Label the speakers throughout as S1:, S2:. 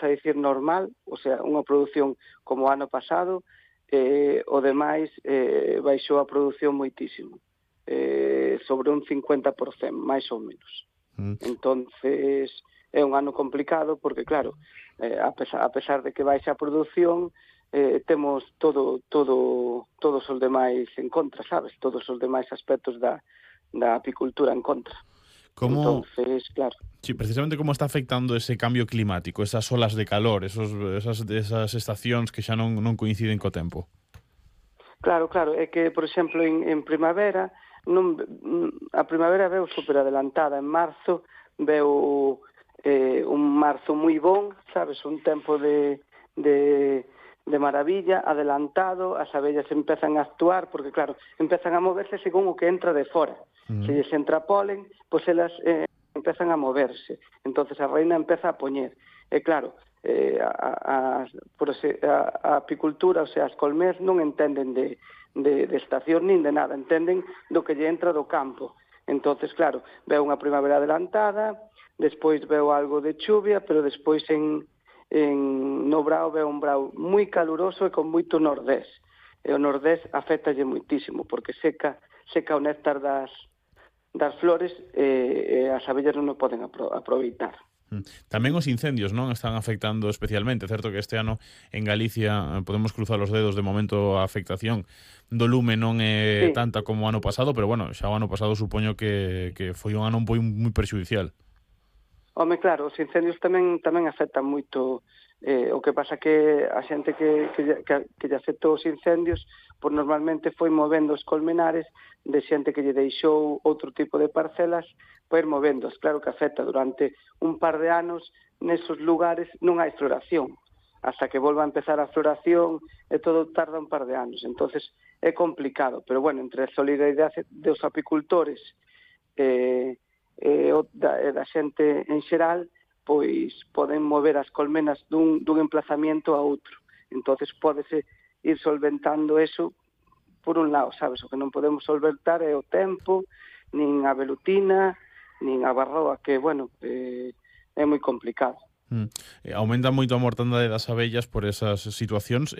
S1: a dicir normal, o sea, unha produción como o ano pasado, o demais baixou a produción moitísimo, sobre un 50%, máis ou menos. Entonces, é un ano complicado porque, claro, a pesar de que baixa a produción, temos todos os demais en contra, sabes? Todos os demais aspectos da apicultura en contra.
S2: Como,
S1: Entonces, claro.
S2: sí, precisamente como está afectando ese cambio climático, esas olas de calor, esas estacións que xa non coinciden co tempo?
S1: Claro, é que, por exemplo, en primavera, a primavera veu super adelantada. En marzo veu un marzo moi bon, sabes, un tempo de maravilla, adelantado, as abellas empezan a actuar, porque, claro, empezan a moverse según o que entra de fora. Se lles entra polen, pois elas empezan a moverse. Entonces a reina empeza a poñer. E claro, a apicultura, o sea, as colmeas non entenden de estación nin de nada, entenden do que lle entra do campo. Entonces, claro, veo unha primavera adelantada, despois veo algo de chuvia, pero despois no brao veo un brao moi caluroso e con moito nordés. E o nordés afectalle moitísimo, porque seca o néctar das flores e as abellas non o poden aproveitar.
S2: Tamén os incendios non están afectando especialmente. Certo que este ano en Galicia podemos cruzar os dedos, de momento a afectación do lume non é tanta como o ano pasado, pero bueno, xa o ano pasado supoño que foi un ano moi perxudicial.
S1: Home, claro, os incendios tamén afectan moito. O que pasa que a xente que lle afectou os incendios, pois normalmente foi movendo os colmenares de xente que lle deixou outro tipo de parcelas para ir movendos. Claro que afecta durante un par de anos, nesos lugares non hai floración. Hasta que volva a empezar a floración e todo tarda un par de anos. Entonces é complicado, pero bueno, entre a solidaridade dos apicultores e da xente en xeral, pois poden mover as colmenas dun emplazamiento a outro. Entonces pódese ir solventando eso por un lado, sabes? O que non podemos solventar é o tempo, nin a velutina, nin a barroa, que, bueno, é moi complicado.
S2: Aumenta moito a mortandade das abellas por esas situacións.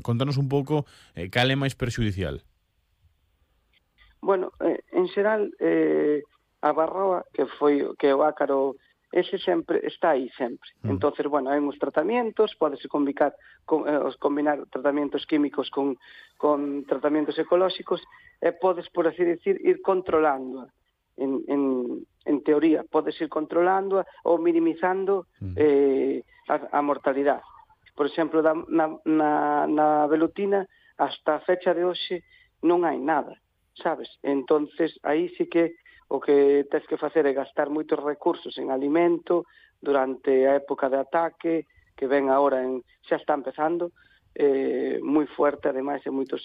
S2: Contanos un pouco cal é máis perxudicial.
S1: Bueno, en xeral, a barroa, que é o ácaro, ese sempre está aí sempre. Entonces, bueno, hai uns tratamentos, pódese combinar tratamentos químicos con tratamentos ecolóxicos, e podes, por así decir, ir controlando. En teoría, podes ir controlando ou minimizando a mortalidade. Por exemplo, na velutina, hasta a fecha de hoxe, non hai nada, sabes? Entonces, aí sí que o que tens que facer é gastar moitos recursos en alimento durante a época de ataque, que ven agora, xa está empezando, moi fuerte, ademais, en moitos